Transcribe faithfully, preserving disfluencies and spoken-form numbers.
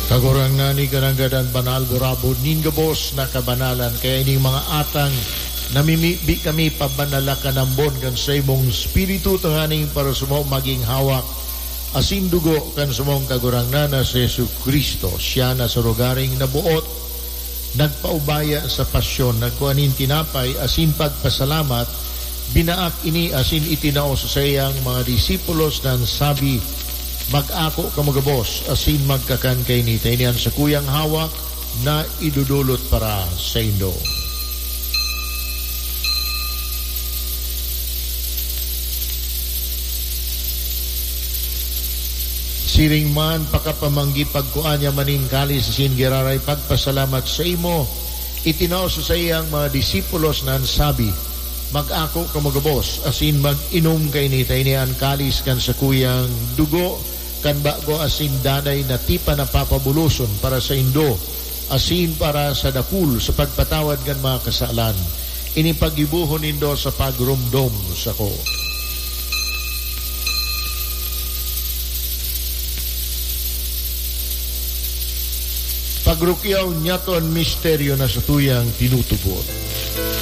Kagurangnan, igananggad an banal burabod nin gabos na kabanalan, kaya ining mga atang namimibi kami pabanala kanambon kan saimong Espiritu tanganing para samo magin hawak asin dugo kan samong Kagurangnan na si Jesu-Cristo. Siya na sa lugaring naboot, nagpaubaya sa pasyon, nagkua nin tinapay asin pagpasalamat, binaak ini asin itinao sa saiyang mga disipulos na sabi, "Mag-ako kamo gabos asin magkakan kaini ta ini an sakuyang hawak na idodolot para saindo." Siring man, pakapamanggi pagkua niya maning kalis asin giraray pagpasalamat saimo, itinao sa saiyang mga disipulos na sabi, "Mag-ako kamo gabos asin mag-inom kaini ta ini an kalis kan sakuyang dugo kan bago asin danay na tipan na papabuloson para saindo asin para sa dakul sa pagpatawad kan mga kasalan. Ini paggibohon nindo sa pagromdom sako." Pagrukyaw niyato an misteryo na satuyang tinutubod.